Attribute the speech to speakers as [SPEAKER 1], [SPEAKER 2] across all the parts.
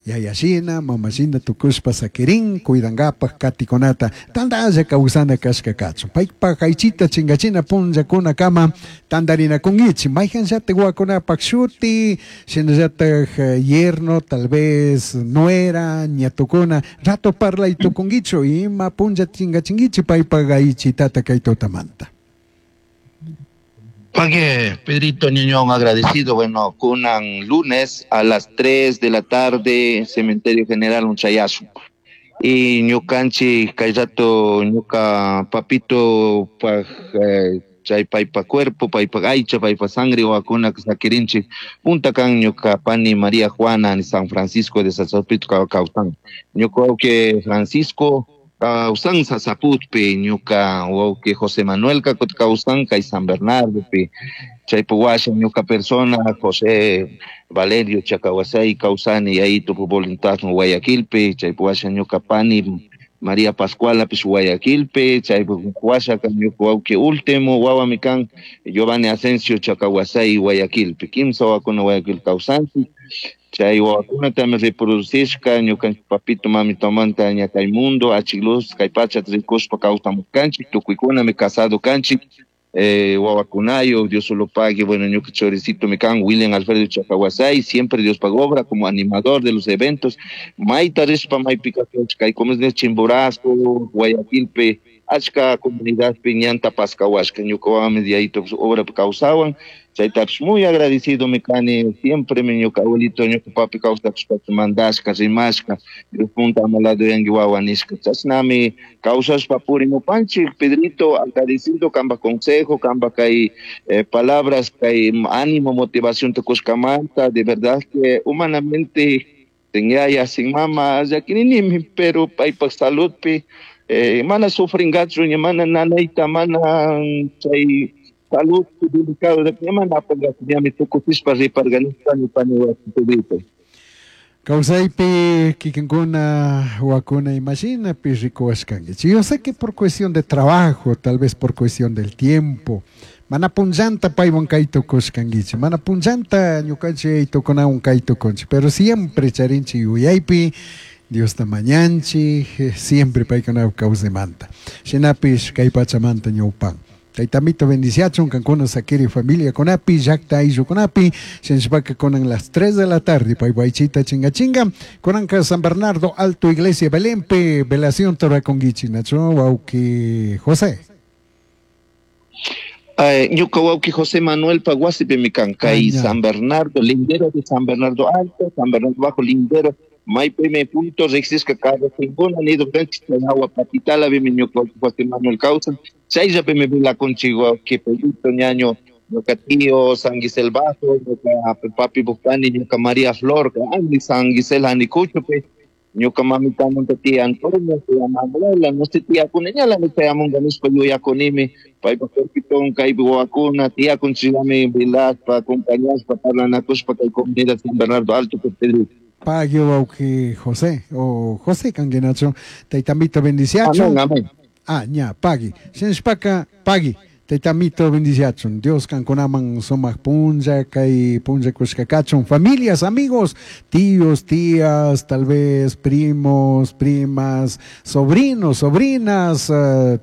[SPEAKER 1] Yayashina, mamashina tukushpa sakirin, cuidankapaj katikunata, tantalla kawsana kashka kachun. Paypaj aychita chingachina punllakunakama tantarinakunkichik, mayqanllatak wawakunapak shuti, shinallatak yerno, tal vez nuera, ñatukuna, rato parlay tukunkichu, ima punlla chingachinkichik paypaj aychitata kay tutamanta.
[SPEAKER 2] Pague, Pedrito Ñuñón, agradecido. Bueno, kunan lunes a las 3 de la tarde, Cementerio General Unchayasu. Y ñukanchik kay rato ñuka papito paj chay paypa cuerpo, paypa aycha, paypa sangre wawakuna sakirinchik. Punta kan ñuka pani María Juana en San Francisco de Sasaput kawsan. Ñuka wawqi Francisco kawsan Sasaputpi, ñuka wawqi José Manuel kawsan kay San Bernardopi. Chaypi washa ñuka persona José Valerio Chacahuasay kawsani yayito voluntad Guayaquilpi, chaypi washa ñuka pani María Pascuala pish Guayaquilpi, chaypi washa kan ñuka wawqi último wawami kan Giovanni Asensio Chacahuasay Guayaquilpi, kimsa wawakuna Guayaquil kawsanchik. Chay wawakunatami reproducishka ñukanchik papito mamitomanta ña kay mundo achik luz kay pachata rikushpa kawsamushkanchik, tukuykunami casado kanchik, wawakunayo, Dios solo pague, bueno, ñuka choricito mi kan William Alfredo Chacahuasay, siempre Dios paga obra como animador de los eventos, mayta rishpa maypi kay como es Chimborazo, Guayaquilpi, achka comunidadpi ñanta paskawashka, ñuka wawami diayito obra kawsawan, chaytapish muy agradecido mi kani, siempre mi ñuka abuelito, ñuka papi kawsashpa mandashka, rimashka, Dios punta amalado yangi wawa nishka, chashnami kawsashpa purimupanchik, Pedrito, agradecido kamba consejo, kamba kay palabras, kay ánimo, motivación tukushkamanta, de verdad que humanamente sin yaya, sin mama, llakininimi, pero paypak saludpi, mana sufringachu, ña mana nanayta, mana chay salud delicado de que mana apangachu, ñami tukushpa riparganishpa pani wasi Pedrito.
[SPEAKER 1] Kawsaypi kikinkuna wakuna imashinapi rikuwashkankichik. Yo sé que por cuestión de trabajo, tal vez por cuestión del tiempo, mana punllanta paywan kay tukushkankichik, mana punllanta ñukanchik tukunawan kay tukunchik, pero siempre charinchik yuyaypi Diosta mañanchik, siempre paykuna kawsaymanta. Shinapish kay pachamanta ñawpan. Taytamito bendiciachun kankuna sakiri familia kunapi, llakta ayllukunapi, shinashpaka kunan las 3 de la tarde, paypaychita chinga chinga, kunanka San Bernardo Alto Iglesia Belenpe, velación torakunkichik, nacho wawqi José.
[SPEAKER 2] Ñuka wawqi José Manuel Paguasipi mi kan, kay San Bernardo, lindero de San Bernardo Alto, San Bernardo Bajo, lindero, maypi me punto riqsishka carro nido kanchik chay hawa patitala mi ñuka wawqi José Manuel kawsan, chayllapi mi vilakunchik wawqi Pedrito ñaño, ñuka tío San Gisel Bajo, ñuka papi Bukani, ñuka María Flor, Andy San Gisel Anicuchopi, ñuka mamitamanta tía Antonio, tía Manuela, no sé tía kuna, ñala mi chayamunga nishpa yuyakunimi, paypa cuerpiton kaypi wawakuna, tía kunchillami vilaspa, acompañashpa, parlanakushpa kay comunidad San Bernardo Alto, Pedrito.
[SPEAKER 1] Pagui wawqi José, o José kanguinacho, taytamito bendiciacho.
[SPEAKER 2] Amén, amén.
[SPEAKER 1] Ah, ña, pagui. Shinashpaka, pagui. Taytamito bendiciachun. Dios kankunaman sumaq punlla, kay punlla kushkakachun. Familias, amigos, tíos, tías, tal vez primos, primas, sobrinos, sobrinas,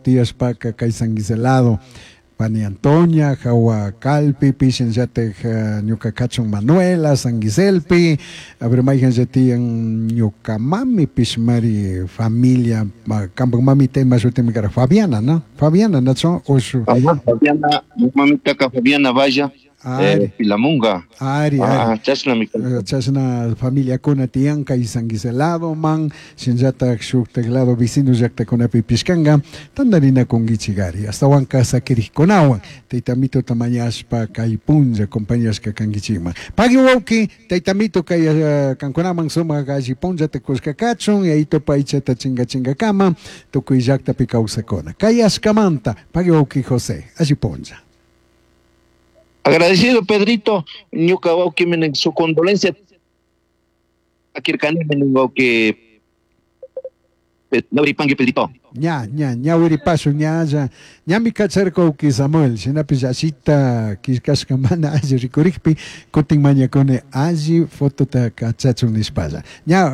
[SPEAKER 1] tías paka kay San Giselado. Pani Antonia, Jawa Calpi, Pishin Yatej, Ñuka Kachun Manuela, San Giselpi, a ver, Maijan Yatian, Ñuka Mami, Pishmari, familia, Kampak Mami, Tema, Shutimikara, Fabiana, ¿no? Fabiana, ¿no? Oshu.
[SPEAKER 2] Ajá, Fabiana, mamita ka Fabiana Vaya.
[SPEAKER 1] Ari.
[SPEAKER 2] Pilamunga.
[SPEAKER 1] Ari,
[SPEAKER 2] Ah,
[SPEAKER 1] ari.
[SPEAKER 2] chashna mi kan.
[SPEAKER 1] Chashna familia kuna tiyanka y San Giselado man, shinllatak shuktak lado vecino llaktakunapi pishkanka, tandarina kunkichikari. Hasta wanka sakirikunawan, taytamito tamañashpa kay punlla acompañashka kankichikman. Pagui wawqi, taytamito kay kankunaman sumak alli punllata kushkakachun, yayito paychata chinga chingakama, tukuy llaktapi kawsakuna. Kay ashkamanta, pagui wawqi José, alli punlla.
[SPEAKER 2] Agradecido, Pedrito, ñuka wawqi minen su condolencia. Akirkani minen wawqi Ñawiripanki, Pedrito.
[SPEAKER 1] Ña, ña, ñawiripasu, ña, ya. Ñami kacharka wawqi Samuel, shinapish ashita killkashka mana alli rikurikpi, kutin mañakuni alli fotota kachachun nishpalla. Ña.